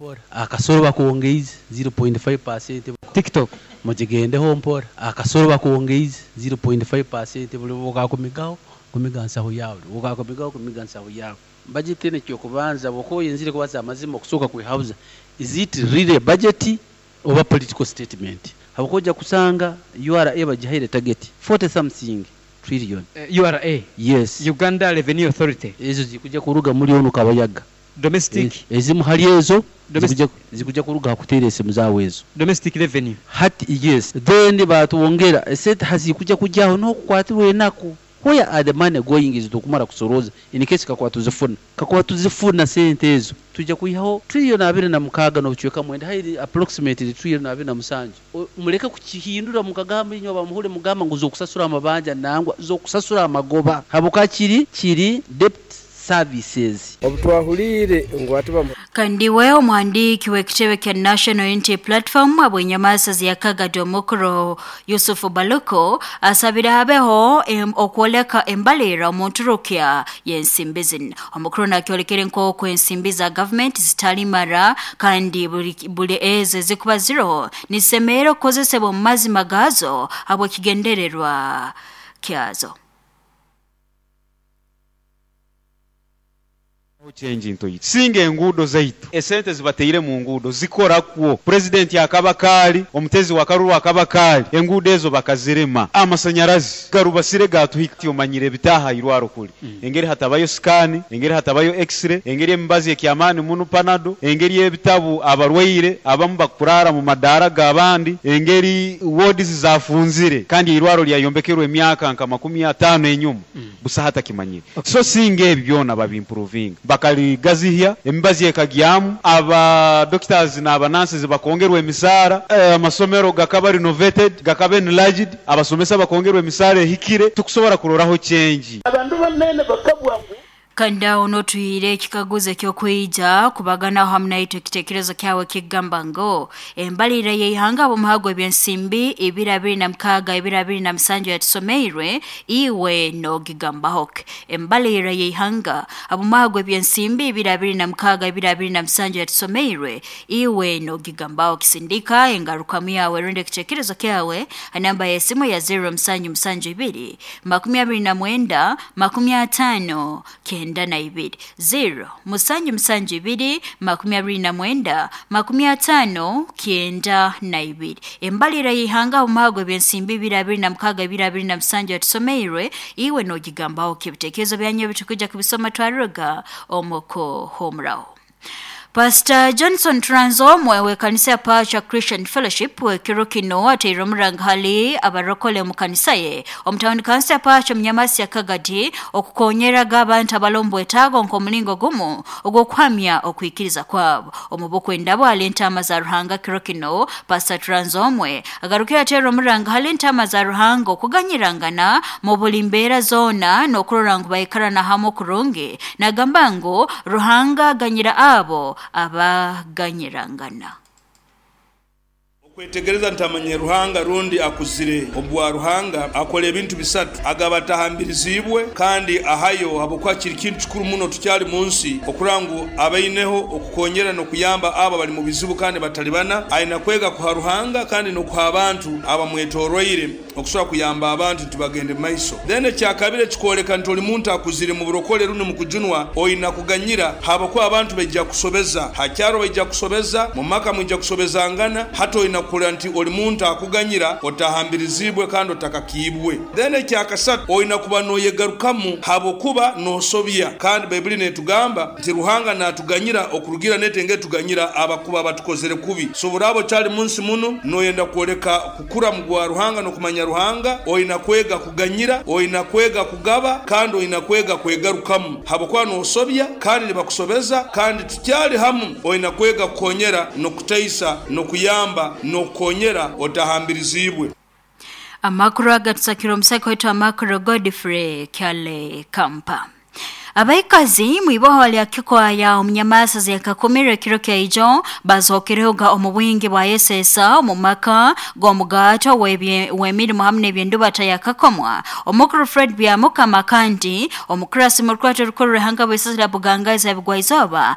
Mpora. Akasoro bakwongeize 0.5%. TikTok. Mugigendeho mpora. Akasoro bakwongeize 0.5%, buli bwokakumigaho kumiga nsaho yawe, bwokakumigaho kumiga nsaho yawe. Budget eno, ekyokubanza, bwokuba oyenzire kubaza amazima, okusooka kwehabuza, is it really a budget oba political statement? Habwokuba ojja kusanga URA bagihaire target 40 something trillion. URA. Yes. Uganda Revenue Authority. Ezo zikujja kuruga muri onu Kabayaga. Domestic. Ezimu hali ezo Domestic. zikujja kuruga hakuteera esimu zaawe ezo. Domestic revenue. Hati yes, then batwongera esente hazikujja kujyaho n'okukwatirwa enaku. Where are the money going? Is tukumara kusoroza, in case kakuba tuzifuna, kakuba tuzifuna sente ezo, tujja kwihaho trillion 26 n'obucweka 9, hairi approximately trillion 27. Muleke kukihindura mukagamba, inywe bamuhure mugamba ngu zokusasura amabanja, nangwa zokusasura amagoba, habwokuba kiri debt services. Obutwahulire ngu ati. Kandi we omwandiiki w'ekitebe kya National Unity Platform abwenyamasa ziyakagadi omukuru Yusufu Baluko asabire habeho okwoleka embalira omu nturukya y'ensimbi zino. Omukuru nakyolekere nk'oku ensimbi za gavumenti zitalimara, kandi buli ezo ezikuba ziroho nizisemerera okukozesebwa omu mazima gaazo habw'ekigendererwa kyazo. Change ntoito singa enguudo zaitu, esente zibateire mu nguudo zikorakwo. Purezidenti akaba kaali omutezi wa karuru, akaba kaali enguudo ezo bakazirema. Amasanyarazi garubasire gatuhika. Omanyire ebitaha irwaro kuli engeri hatabayo scan, engeri hatabayo x-ray, engeri emibazi ekyamaani muno Panado, engeri ebitabu abarwaire abamu bakurara mu madaara g'abandi, engeri wards zafunzire kandi irwaro lyayombekerwe emyaka nka 50 enyuma, busa hatakimanyire. So singa ebi byona babimprovinga, bakaligazihya, emibazi ekagyamu, aba doctors n'aba nurses bakongerwa emisaara, amasomero gakaba renovated, gakaba enlarged, abasomesa bakongerwa emisaara ehikire, tukusobora kuroraho change. Abandu banene bakabwa ngu Kandi aho n'otwire ekikaguzo ekyokwija kubaganaho hamu naitwe ekitekerezo kyawe kigamba ngo embalira y'ihanga ab'omuhago ebyensimbi 2026 2027 yatusomeirwe, iwe nogigambaho ki? Embalira y'ihanga ab'omuhago ebyensimbi 2026 2027 yatusomeirwe, iwe nogigambaho kisindika engarukamu yawe rundi ekitekerezo kyawe ha namba y'esimu ya 0772 29 50 92, 0772 29 50 92. Embalira y'ihanga omuhago ebyensimbi 2026 2027 yatusomeirwe, iwe nogigambaho kibitekerezo byanyu bitukuja kubisoma twaruga omuko homuraho. Pastor Johnson Tranzo we kanisa ya Pacha Christian Fellowship wekiro kino ateire omuranga hali abarokole mu kanisa ye omutawuni kanisa ya Pacha Mnyamasi ya Kagadi okukonyeraga abantu abalombo etago nk'omulingo gumu ogw'okuhamya okwikiriza kwabo. Omubukwenda bwali entama za Ruhanga kiro kino Pastor Tranzomwe agarukira ateire omuranga hali entama za Ruhanga okuganyirangana mu buli mbeera zoona n'okurora ngu baikarana hamwe kurungi, nagamba ngu Ruhanga aganyira abo abaganyirangana. Okwetegereza ntamanye Ruhanga rundi akuzire obwa Ruhanga akora ebintu bisatu: agaba atahambirizibwe, kandi ahayo, habwokuba kiri kintu kikuru muno tukyali mu nsi okurora ngu abaineho okukonyera n'okuyamba abo abali mu bizibu kandi batalibana. Aina kwega kuha Ruhanga kandi n'okuha abantu abamwetoroire okusobora kuyamba abantu tibagende maiso. Then ekyakabiri ekikwoleka nti oli muntu akuzire mu burokole rundi mu kujunwa, oina kuganyira, habwokuba abantu baija kusobeza hakyaro, baija kusobeza mu maka, mwija kusobezangana. Hati oina kurora nti oli muntu akuganyira otahambirizibwe kandi otakakiibwe. Then ekyakasatu, oina kuba noyegarukamu habwokuba nosobya, kandi Baibuli netugamba nti Ruhanga natuganyira okurugira netenge tuganyira abakuba batukozere kubi. So buraba okyali munsi muno noyenda kwoleka kukura mu gwa Ruhanga n'okumanya Ruhanga, oina kwega kuganyira, oina kwega kugaba, kandi oina kwega kwegarukamu habwokuba nosobya kandi nibakusobeza kandi tukyali hamu. Oina kwega kukonyera n'okutaisa n'okuyamba n'okukonyera otahambirizibwe. Amakuru agatusakira omusako wetu amakuru Godfrey Kyale Kampa. Abaikazi mwiboho lya Kikwaya omunyamasa ziyakakumira ekiro kyaijo bazokerehoga omu bwingi bwa yesesa omu maka g'omugato w'emirimu hamwe n'ebyendubata yakakomwa. Omukuru Fred Byamukama kandi omukurasi mu rukwato rukuru ruhanga bw'isazira Bugangazi abigwa izooba.